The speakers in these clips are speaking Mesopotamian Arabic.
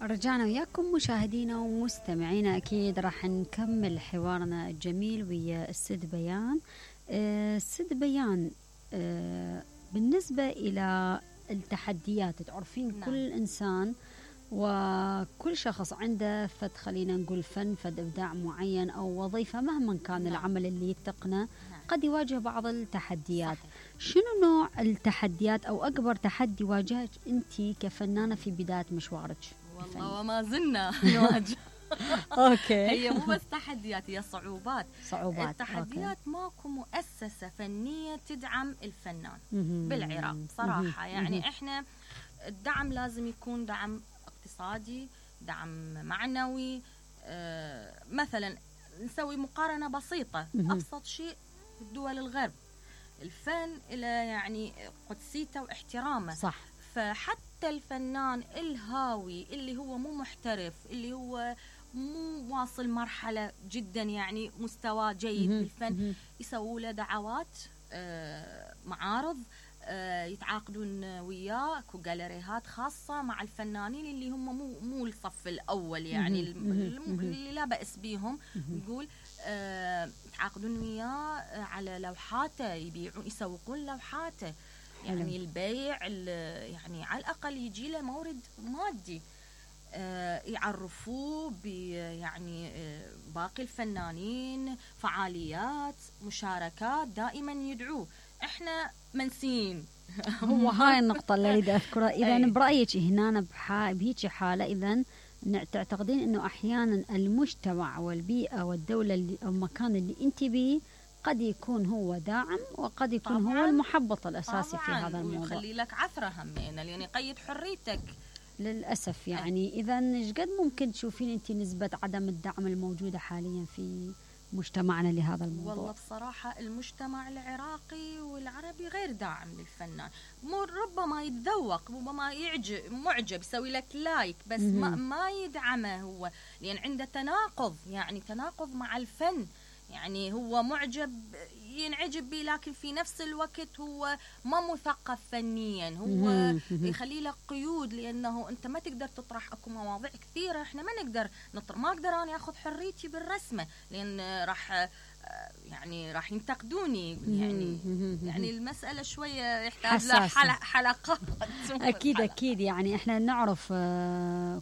رجعنا وياكم مشاهدينا ومستمعينا. أكيد راح نكمل حوارنا الجميل ويا السيد بيان. السيد بيان، بالنسبة إلى التحديات، تعرفين نعم. كل إنسان وكل شخص عنده خلينا نقول فن، إبداع معين أو وظيفة مهما كان نعم. العمل اللي يتقنه، نعم. قد يواجه بعض التحديات. صحيح. شنو نوع التحديات أو أكبر تحدي واجهك أنت كفنانة في بداية مشوارك؟ والله وما زلنا نواجه. أوكي. هي مو بس تحديات، هي صعوبات. التحديات أوكي. ماكو مؤسسة فنية تدعم الفنان مهم. بالعراق صراحة. مهم. يعني إحنا الدعم لازم يكون دعم اقتصادي، دعم معنوي. مثلا نسوي مقارنة بسيطة. أبسط شيء في دول الغرب الفن إلى يعني قدسيته واحترامه. صح. فحتى الفنان الهاوي اللي هو مو محترف، اللي هو مو واصل مرحلة جدا يعني مستوى جيد بالفن، يسووا له دعوات، معارض، يتعاقدون وياه، اكو جاليريهات خاصة مع الفنانين اللي هم مو الصف الأول، يعني اللي لا بأس بيهم. نقول يتعاقدون وياه على لوحاته، يبيعون يسوقون لوحاته. يعني البيع يعني على الأقل يجي له مورد مادي، يعرفوه يعني باقي الفنانين، فعاليات، مشاركات، دائما يدعوه. احنا منسيين. هو هاي النقطة اللي أريد أذكرها. إذا برأيك هنا بهيك حالة، إذا تعتقدين إنه أحيانا المجتمع والبيئة والدولة أو المكان اللي أنت بيه قد يكون هو داعم، وقد يكون هو المحبط الأساسي في هذا الموضوع، ويخلي لك عثرة همينة، لأن يقيد حريتك للأسف. يعني إذا إيش قد ممكن تشوفين أنت نسبة عدم الدعم الموجودة حاليا في مجتمعنا لهذا الموضوع؟ والله بصراحة المجتمع العراقي والعربي غير داعم للفنان. ربما يتذوق، ربما معجب، يسوي لك لايك، بس ما يدعمه هو، لأن عنده تناقض، يعني تناقض مع الفن. يعني هو معجب، ينعجب به، لكن في نفس الوقت هو ما مثقف فنيا. هو يخلي لك قيود، لأنه أنت ما تقدر تطرح. أكو مواضيع كثيرة إحنا ما نقدر ما أقدر أنا أخذ حريتي بالرسمة، لأن راح ينتقدوني. يعني المسألة شوية يحتاج لها حلقات. أكيد. يعني إحنا نعرف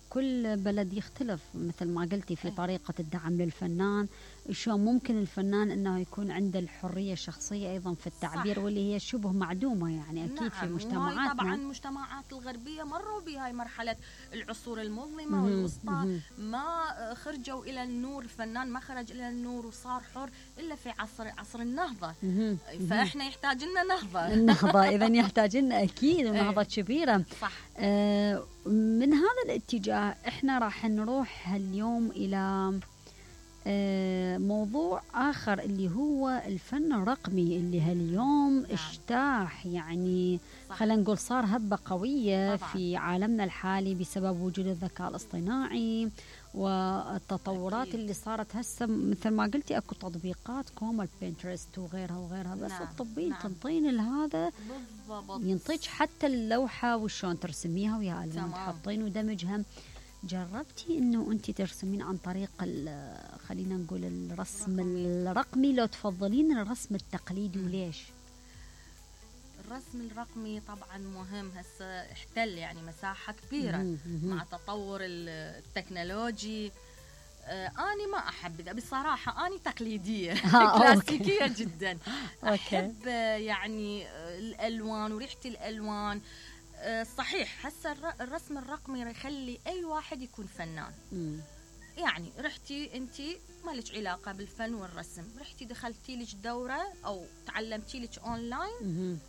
كل بلد يختلف مثل ما قلتي في طريقة الدعم للفنان. شو ممكن الفنان أنه يكون عنده الحرية الشخصية أيضا في التعبير، صح. واللي هي شبه معدومة يعني أكيد. نعم. في مجتمعاتنا طبعا المجتمعات الغربية مروا بهاي مرحلة العصور المظلمة والوسطى، ما خرجوا إلى النور. الفنان ما خرج إلى النور وصار حر إلا في عصر النهضة. فإحنا يحتاج لنا النهضة. إذن يحتاج لنا أكيد نهضة كبيرة. صح. من هذا الاتجاه إحنا راح نروح اليوم إلى موضوع آخر، اللي هو الفن الرقمي، اللي هاليوم اجتاح، يعني خلينا نقول صار هبة قوية طبعا في عالمنا الحالي بسبب وجود الذكاء الاصطناعي والتطورات أكيد. اللي صارت هسه مثل ما قلتي اكو تطبيقات كوم البنترست وغيرها بس تطبين تنطين هذا ينطيك حتى اللوحة وشون ترسميها ويا الوان تحطين ودمجها. جربتي انه انت ترسمين عن طريق خلينا نقول الرسم الرقمي، لو تفضلين الرسم التقليدي وليش؟ الرسم الرقمي طبعا مهم، هسه احتل يعني مساحة كبيرة مع تطور التكنولوجي. أنا ما أحب بصراحة، أنا تقليدية كلاسيكية جدا. أحب يعني الألوان وريحة الألوان. صحيح هسه الرسم الرقمي يخلي أي واحد يكون فنان. يعني رحتي أنتي ما لك علاقة بالفن والرسم، رحتي دخلتي لك دورة أو تعلمتي لك أونلاين،